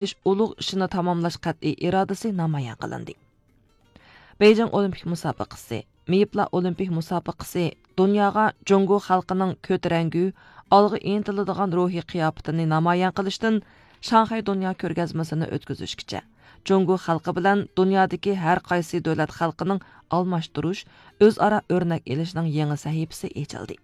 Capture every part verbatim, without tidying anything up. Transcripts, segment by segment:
ئېلىش ئۇلۇغ ئىشىنى تاماملاش قەتئىي ئىرادىسى نامايان قىلىندى. بېيجىڭ ئولىمپىك مۇسابىقىسى، مېيىپلار ئولىمپىك مۇسابىقىسى دۇنياغا جۇڭگو خەلقىنىڭ كۆتۈرەڭگۈ، ئالغا ئىنتىلىدىغان روھىي قىياپىتىنى نامايان قىلىشتىن شاڭخەي دۇنيا كۆرگەزمىسىنى ئۆتكۈزۈشكىچە، جۇڭگو خەلقى بىلەن دۇنيادىكى ھەر قايسى دۆلەت خەلقىنىڭ ئالماشتۇرۇش، ئۆزئارا ئۆرنەك ئېلىشنىڭ يېڭى سەھىپىسى ئېچىلدى.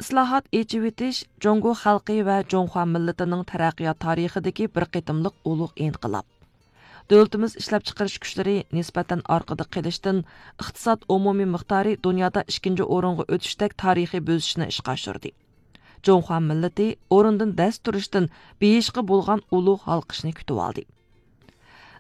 ئىسلاھات، ئېچىۋېتىش جۇڭگو خەلقى ۋە جۇڭخۇا مىللىتىنىڭ تەرەققىيات تارىخىدىكى بىر قېتىملىق ئۇلۇغ ئىنقىلاب. دۆلىتىمىز ئىشلەپچىقىرىش كۈچلىرى نىسبەتەن ئارقىدا قېلىشتىن، ئىقتىساد ئومۇمىي مىقدارى دۇنيادا ئىككىنچى ئورۇنغا ئۆتۈشتەك تارىخىي بۆسۈشنى ئىشقا ئاشۇردى. جۇڭخۇا مىللىتى ئورنىدىن دەس تۇرۇشتىن بېيىشقا بولغان ئۇلۇغ ھالقىشنى كۈتۈۋالدى.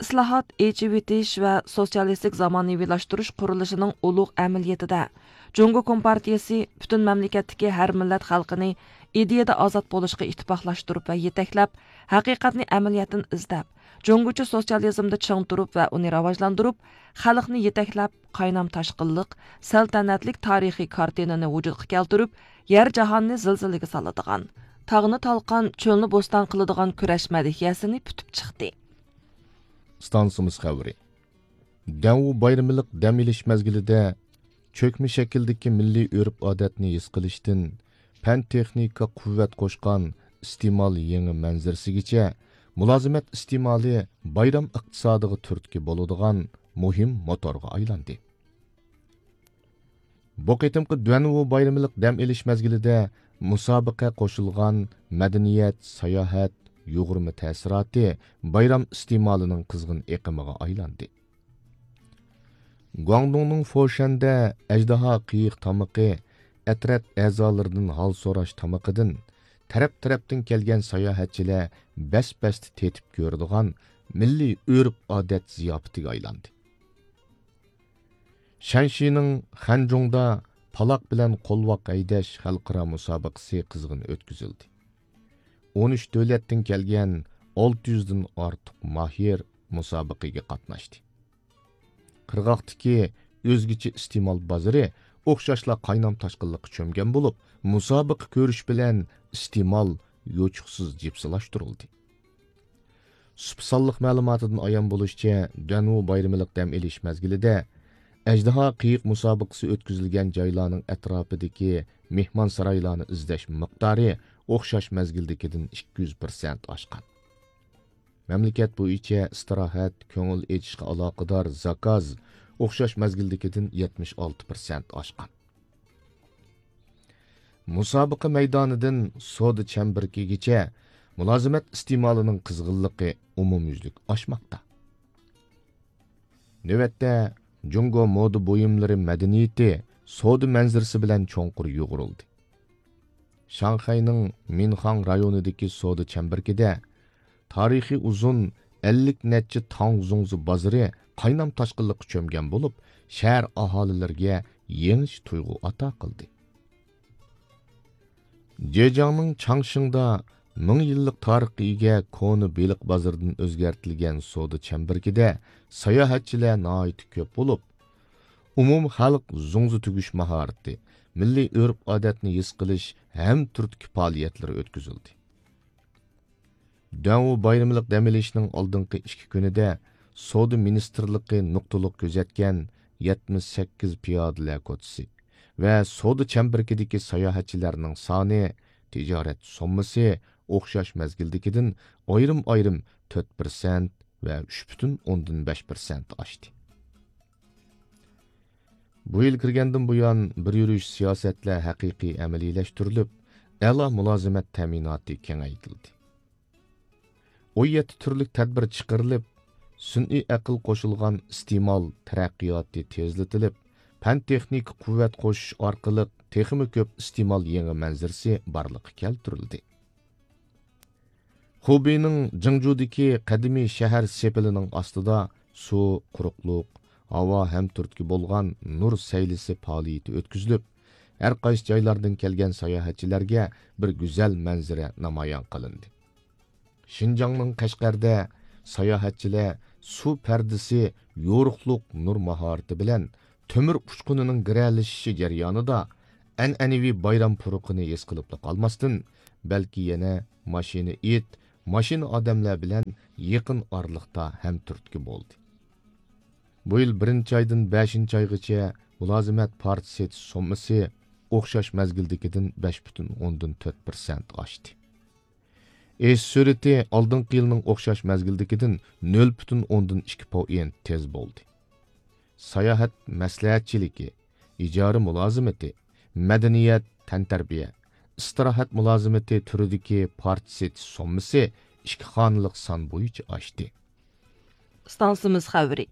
ئىسلاھات، ئېچىۋېتىش ۋە سوتسىيالىستىك زامانىۋىلاشتۇرۇش قۇرۇلۇشىنىڭ ئۇلۇغ ئەمەلىيىتىدە، جۇڭگو كومپارتىيىسى پۈتۈن مەملىكەتتىكى ھەر مىللەت خەلقىنى ئىدىيەدە ئازاد بولۇشقا ئىتتىپاقلاشتۇرۇپ ۋە يېتەكلەپ، ھەقىقەتنى ئەمەلىيەتتىن ئىزدەپ، جۇڭگوچە سوتسىيالىزمدا چىڭ تۇرۇپ ۋە ئۇنى راۋاجلاندۇرۇپ، خەلقنى يېتەكلەپ، قاينام تاشقىنلىق، سەلتەنەتلىك تارىخىي كارتىنىنى ۋۇجۇدقا كەلتۈرۈپ، يەر جاھاننى زىلزىلىگە سالىدىغان، تاغنى تالقان، چۆلنى بوستان قىلىدىغان كۈرەش مەدھىيەسىنى پۈتۈپ چىقتى. ئىستانسىمىز خەۋىرى. دەنۋۇ بايرىملىق دەم ئېلىش مەزگىلىدە چۆكمە شەكىلدىكى مىللىي ئۆرپ-ئادەتنى ھېس قىلىشتىن، پەن-تېخنىكا قۇۋۋەت قوشقان ئىستېمال يېڭى مەنزىرىسىگىچە، مۇلازىمەت ئىستېمالى بايرام ئىقتىسادىغا تۈرتكە بولىدىغان مۇھىم موتورغا ئايلاندى. بۇ قېتىمقى دۇەنۋۇ بايرىملىق دەم ئېلىش مەزگىلىدە مۇسابىقە قوشۇلغان مەدەنىيەت، ساياھەت، يۇغۇرما تەسىراتى بايرام ئىستېمالىنىڭ قىزغىن ئېقىمىغا ئايلاندى. گۇاڭدۇڭنىڭ فوشەندە ئەجدىھا قېيىق تامىقى، ئەترەت ئەزالىرىدىن ھال سوراش تامىقىدىن تەرەپ-تەرەپتىن كەلگەن ساياھەتچىلەر بەس-بەستە تېتىپ كۆرىدىغان مىللىي ئۆرپ-ئادەت زىياپىتىگە ئايلاندى. شەنشىنىڭ خەنجۇڭدا پالاق بىلەن قولۋاق ھەيدەش خەلقئارا مۇسابىقىسى قىزغىن ئۆتكۈزۈلدى. ئون ئۈچ دۆلەتتىن كەلگەن ئالتە يۈزدىن ئارتۇق ماھىر مۇسابىقىگە قاتناشتى. قىرغاقتىكى ئۆزگىچە ئىستېمال بازىرى ئوخشاشلا قاينام تاشقىنلىققا چۆمگەن بولۇپ، مۇسابىقە كۆرۈش بىلەن ئىستېمال يوچۇقسىز جىپسىلاشتۇرۇلدى. سۇپا سانلىق مەلۇماتىدىن ئايان بولۇشىچە، دەنۋۇ بايرىملىق دەم ئېلىش مەزگىلىدە ئەجدىھا قېيىق مۇسابىقىسى ئۆتكۈزۈلگەن جايلارنىڭ ئەتراپىدىكى مېھمانسارايلارنى ئىزدەش مىقدارى ئوخشاش مەزگىلدىكىدىن ئىككى يۈز پىرسەنت ئاشقان. مەملىكەت بويىچە ئىستىراھەت، كۆڭۈل ئېچىشقا ئالاقىدار زاكاز ئوخشاش مەزگىلدىكىدىن يەتمىش ئالتە پىرسەنت ئاشقان. مۇسابىقە مەيدانىدىن سودا چەمبىرىكىگىچە مۇلازىمەت ئىستېمالىنىڭ قىزغىنلىقى ئومۇميۈزلۈك ئاشماقتا. نۆۋەتتە، جۇڭگو مودا بۇيۇملىرى مەدەنىيىتى سودا مەنزىرىسى بىلەن چوڭقۇر يۇغۇرۇلدى. شاڭخەينىڭ مىنخاڭ رايونىدىكى سودا چەمبىرىكىدە تارىخى ئۇزۇن ئەللىك نەچچە تاڭ زۇڭزى بازىرى قاينام تاشقىنلىققا چۆمگەن بولۇپ، شەھەر ئاھالىلىرىگە يېڭىچە تۇيغۇ ئاتا قىلدى. جېجياڭنىڭ چاڭشىڭدا مىڭ يىللىق تارىخقا ئىگە كونا بېلىق بازىرىدىن ئۆزگەرتىلگەن سودا چەمبىرىكىدە ساياھەتچىلەر ناھايىتى كۆپ بولۇپ، ئومۇمخەلق زۇڭزى تۈگۈش ماھارىتى، مىللىي ئۆرپ-ئادەتنى ھېس قىلىش ھەم تۈرتكە پائالىيەتلىرى ئۆتكۈزۈلدى. دەنۋۇ بايرىملىق دەم ئېلىشنىڭ ئالدىنقى ئىككى كۈنىدە سودا مىنىستىرلىقى نۇقتىلىق كۆزەتكەن يەتمىش سەككىز پىيادىلەر كوچىسى ۋە سودا چەمبىرىكىدىكى ساياھەتچىلەرنىڭ سانى، تىجارەت سوممىسى ئوخشاش مەزگىلدىكىدىن ئايرىم-ئايرىم تۆت پىرسەنت ۋە ئۈچ پۈتۈن ئوندىن بەش پىرسەنت ئاشتى. بۇ يىل كىرگەندىن بۇيان، بىر يۈرۈش سىياسەتلەر ھەقىقىي ئەمەلىيلەشتۈرۈلۈپ، ئەلا مۇلازىمەت تەمىناتى كېڭەيتىلدى. ئون يەتتە تۈرلۈك تەدبىر چىقىرىلىپ، سۈنئىي ئەقىل قوشۇلغان ئىستېمال تەرەققىياتى تېزلىتىلىپ، پەن-تېخنىكا قۇۋۋەت قوشۇش ئارقىلىق تېخىمۇ كۆپ ئىستېمال يېڭى مەنزىرىسى بارلىققا كەلتۈرۈلدى. خۇبېينىڭ جىڭجۇدىكى قەدىمىي شەھەر سېپىلىنىڭ ئاستىدا سۇ، قۇرۇقلۇق، ھاۋا ھەم تۈرتكە بولغان نۇر سەيلىسى پائالىيىتى ئۆتكۈزۈلۈپ، ھەر قايسى جايلاردىن كەلگەن ساياھەتچىلەرگە بىر گۈزەل مەنزىرە نامايان قىلىندى. شىنجاڭنىڭ قەشقەردە ساياھەتچىلەر سۇ پەردىسى يورۇقلۇق نۇر ماھارىتى بىلەن تۆمۈر ئۇچقۇنىنىڭ گىرەلىشىشى جەريانىدا ئەنئەنىۋى بايرام پۇرىقىنى ھېس قىلىپلا قالماستىن، بەلكى يەنە ماشىنا ئېت، ماشىنا ئادەملەر بىلەن يېقىن ئارىلىقتا ھەمتۈرتكە بولدى. بۇ يىل بىرىنچى ئايدىن بەشىنچى ئايغىچە مۇلازىمەت پارچە سېتىش سوممىسى ئوخشاش مەزگىلدىكىدىن بەش پۈتۈن ئوندىن تۆت پىرسەنت ئاشتى. ئېشىش سۈرئىتى ئالدىنقى يىلنىڭ ئوخشاش مەزگىلدىكىدىن نۆل پۈتۈن ئوندىن ئىككى پوئېنت تېز بولدى. ساياھەت مەسلىھەتچىلىكى، ئىجارە مۇلازىمىتى، مەدەنىيەت، تەنتەربىيە، ئىستىراھەت مۇلازىمىتى تۈرىدىكى پارچە سېتىش سوممىسى ئىككى خانىلىق سان بويىچە ئاشتى. ئىستانسىمىز خەۋىرى.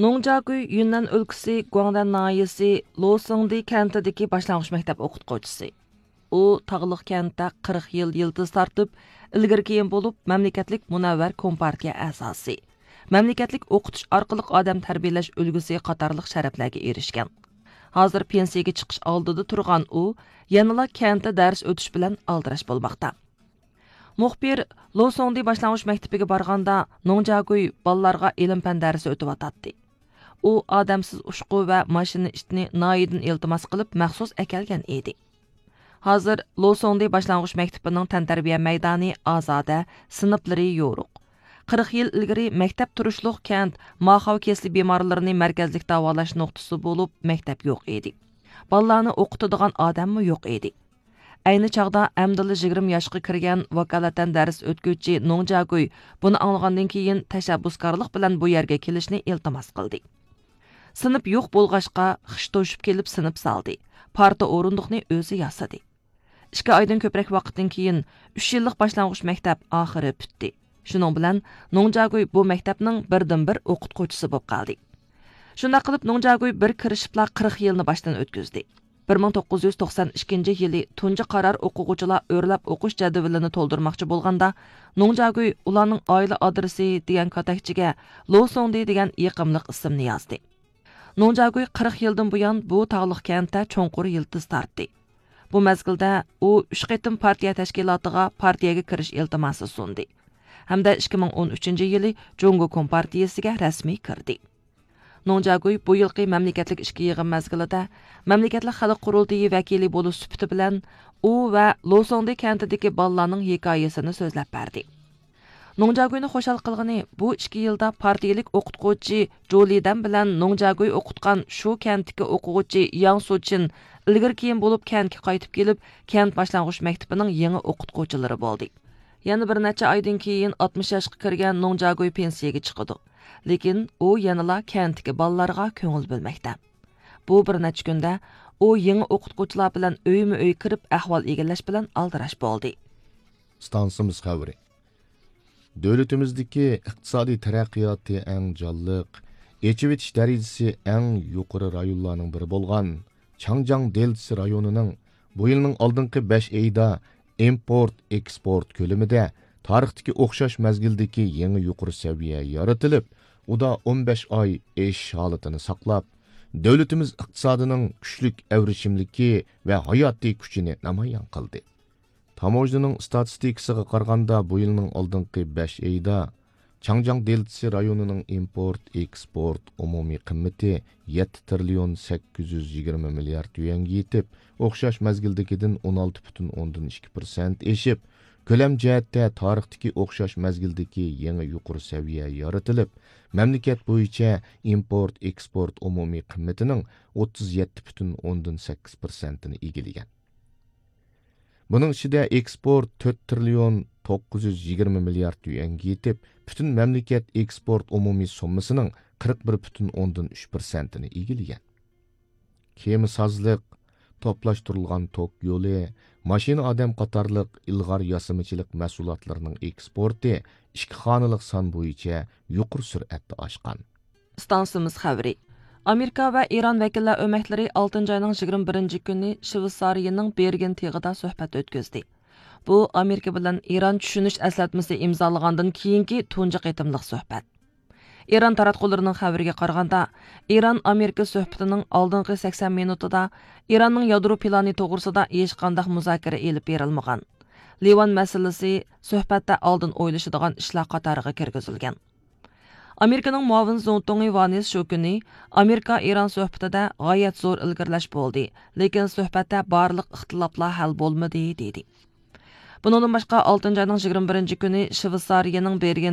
نوڭجياگۈي يۈننەن ئۆلكىسى گۇاڭدەن ناھىيەسى لوسۇڭدى كەنتىدىكى باشلانغۇچ مەكتەپ ئوقۇتقۇچىسى. ئۇ تاغلىق كەنتتە قىرىق يىل يىلتىز تارتىپ، ئىلگىرى كېيىن بولۇپ مەملىكەتلىك مۇنەۋۋەر كومپارتىيە ئەزاسى، مەملىكەتلىك ئوقۇتۇش ئارقىلىق ئادەم تەربىيەلەش ئۈلگىسى قاتارلىق شەرەپلەرگە ئېرىشكەن. ھازىر پېنسىيىگە چىقىش ئالدىدا تۇرغان ئۇ يەنىلا كەنتتە دەرس ئۆتۈش بىلەن ئالدىراش بولماقتا. مۇخبىر لوسۇڭدى باشلانغۇچ مەكتىپىگە بارغاندا، نوڭجياگۈي بالىلارغا ئىلىم-پەن دەرسى ئۆتۈۋاتاتتى. ئۇ ئادەمسىز ئۇچقۇ ۋە ماشىنا ئىتىنى ناھىيەدىن ئىلتىماس قىلىپ مەخسۇس ئەكەلگەن ئىدى. ھازىر لوسۇڭدى باشلانغۇچ مەكتىپىنىڭ تەنتەربىيە مەيدانى ئازادە، سىنىپلىرى يورۇق. قىرىق يىل ئىلگىرى مەكتەپ تۇرۇشلۇق كەنت ماخاۋ كېسىلى بىمارلىرىنى مەركەزلىك داۋالاش نۇقتىسى بولۇپ، مەكتەپ يوق ئىدى. بالىلارنى ئوقۇتىدىغان ئادەممۇ يوق ئىدى. ئەينى چاغدا ئەمدىلا يىگىرمە ياشقا كىرگەن ۋاكالىتەن دەرس ئۆتكۈچى نوڭجياگۈي بۇنى ئاڭلىغاندىن كېيىن، تەشەببۇسكارلىق بىلەن بۇ يەرگە كېلىشنى ئىلتىماس قىلدى. سىنىپ يوق بولغاچقا، خىش توشۇپ كېلىپ سىنىپ سالدى، پارتا ئورۇندۇقنى ئۆزى ياسىدى. ئىككى ئايدىن كۆپرەك ۋاقىتتىن كېيىن، ئۈچ يىللىق باشلانغۇچ مەكتەپ ئاخىرى پۈتتى. شۇنىڭ بىلەن نوڭجياگۈي بۇ مەكتەپنىڭ بىردىنبىر ئوقۇتقۇچىسى بولۇپ قالدى. شۇنداق قىلىپ، نوڭجياگۈي بىر كىرىشىپلا قىرىق يىلنى باشتىن ئۆتكۈزدى. بىر مىڭ توققۇز يۈز توقسان ئىككىنچى يىلى تۇنجى قارار ئوقۇغۇچىلار ئۆرلەپ ئوقۇش جەدۋىلىنى تولدۇرماقچى بولغاندا، نوڭجياگۈي ئۇلارنىڭ ئائىلە ئادرېسى دېگەن كاتەكچىگە لوسۇڭدى دېگەن يېقىملىق ئىسىمنى يازدى. نوڭجياگۈي قىرىق يىلدىن بۇيان بۇ تاغلىق كەنتتە چوڭقۇر يىلتىز تارتتى. بۇ مەزگىلدە ئۇ ئۈچ قېتىم پارتىيە تەشكىلاتىغا پارتىيەگە كىرىش ئىلتىماسى سۇندى ھەمدە ئىككى مىڭ ئون ئۈچىنچى يىلى جۇڭگو كومپارتىيىسىگە رەسمىي كىردى. نوڭجياگۈي بۇ يىلقى مەملىكەتلىك ئىچكى يىغىن مەزگىلىدە مەملىكەتلىك خەلق قۇرۇلتىيى ۋەكىلى بولۇش سۈپىتى بىلەن ئۇ ۋە لوسۇڭدى كەنتىدىكى بالىلارنىڭ ھېكايىسىنى سۆزلەپ بەردى. نوڭجياگۈينى خۇشال قىلغىنى، بۇ ئىككى يىلدا پارتىيىلىك ئوقۇتقۇچى جۇ لىدەن بىلەن نوڭجياگۈي ئوقۇتقان شۇ كەنتتىكى ئوقۇغۇچى ياڭ سۇچىن ئىلگىرى كېيىن بولۇپ كەنتكە قايتىپ كېلىپ، كەنت باشلانغۇچ مەكتىپىنىڭ يېڭى ئوقۇتقۇچىلىرى بولدى. يەنە بىر نەچچە ئايدىن كېيىن ئاتمىش ياشقا كىرگەن نوڭجياگۈي پېنسىيەگە چىقىدۇ. لېكىن ئۇ يەنىلا كەنتتىكى بالىلارغا كۆڭۈل بۆلمەكتە. بۇ بىر نەچچە كۈندە ئۇ يېڭى ئوقۇتقۇچىلار بىلەن ئۆيمۇ ئۆي كىرىپ ئەھۋال ئىگىلەش بىلەن ئالدىراش بولدى. ئىستانسىمىز خەۋىرى. دۆلىتىمىزدىكى ئىقتىسادىي تەرەققىياتى ئەڭ جانلىق، ئېچىۋېتىش دەرىجىسى ئەڭ يۇقىرى رايونلارنىڭ بىرى بولغان چاڭجياڭ دېلتىسى رايونىنىڭ بۇ يىلنىڭ ئالدىنقى بەش ئېيىدا ئىمپورت، ئېكسپورت كۆلىمىدە تارىختىكى ئوخشاش مەزگىلدىكى يېڭى يۇقىرى سەۋىيە يارىتىلىپ، ئۇدا ئون بەش ئاي ئېشىش ھالىتىنى ساقلاپ، دۆلىتىمىز ئىقتىسادىنىڭ كۈچلۈك ئەۋرىشىملىكى ۋە ھاياتىي كۈچىنى نامايان قىلدى. تاموژنىنىڭ ئىستاتىستىكىسىغا قارىغاندا، بۇ يىلنىڭ ئالدىنقى بەش ئېيىدا چاڭجياڭ دېلتىسى رايونىنىڭ ئىمپورت، ئېكسپورت ئومۇمىي قىممىتى يەتتە تىرىليون سەككىز يۈز يىگىرمە مىليارد يۈەنگە يېتىپ، ئوخشاش مەزگىلدىكىدىن ئون ئالتە پۈتۈن ئوندىن ئىككى پىرسەنت ئېشىپ، كۆلەم جەھەتتە تارىختىكى ئوخشاش مەزگىلدىكى يېڭى يۇقىرى سەۋىيە يارىتىلىپ، مەملىكەت بويىچە ئىمپورت، ئېكسپورت ئومۇمىي قىممىتىنىڭ ئوتتۇز يەتتە پۈتۈن ئوندىن سەككىز پىرسەنتىنى ئىگىلىگەن. بۇنىڭ ئىچىدە ئېكسپورت تۆت تىرىليون توققۇز يۈز يىگىرمە مىليارد يۈەنگە يېتىپ، پۈتۈن مەملىكەت ئېكسپورت ئومۇمىي سوممىسىنىڭ قىرىق بىر پۈتۈن ئوندىن ئۈچ پىرسەنتىنى ئىگىلىگەن. كېمىسازلىق، توپلاشتۇرۇلغان توك يولى، ماشىنا ئادەم قاتارلىق ئىلغار ياسىمىچىلىق مەھسۇلاتلىرىنىڭ ئېكسپورتى ئىككى خانىلىق سان بويىچە يۇقىرى سۈرئەتتە ئاشقان. ئىستانسىمىز خەۋىرى. ئامېرىكا ۋە ئىران ۋەكىللەر ئۆمەكلىرى ئالتىنچى ئاينىڭ يىگىرمە بىرىنچى كۈنى شۋېتسارىيىنىڭ بېرگېن تېغىدا سۆھبەت ئۆتكۈزدى. بۇ ئامېرىكا بىلەن ئىران چۈشىنىش ئەسلەتمىسى ئىمزالىغاندىن كېيىنكى تۇنجى قېتىملىق سۆھبەت. ئىران تاراتقۇلىرىنىڭ خەۋىرىگە قارىغاندا، ئىران ئامېرىكا سۆھبىتىنىڭ ئالدىنقى سەكسەن مىنۇتىدا ئىراننىڭ يادرو پىلانى توغرىسىدا ھېچقانداق مۇزاكىرە ئېلىپ بېرىلمىغان. لىۋان مەسىلىسى سۆھبەتتە ئالدىن ئويلىشىدىغان ئىشلار قاتارىغا كىرگۈزۈلگەن. ئامېرىكىنىڭ مۇئاۋىن زۇڭتۇڭى ۋانس شۇ كۈنى، ئامېرىكا ئىران سۆھبىتىدە غايەت زور ئىلگىرىلەش بولدى، لېكىن سۆھبەتتە بارلىق ئىختىلاپلار ھەل بولمىدى، دېدى. بۇنىڭدىن باشقا، ئالتىنچى ئاينىڭ يىگىرمە بىرىنچى كۈنى شۋېتسارىيەنىڭ بېرگېن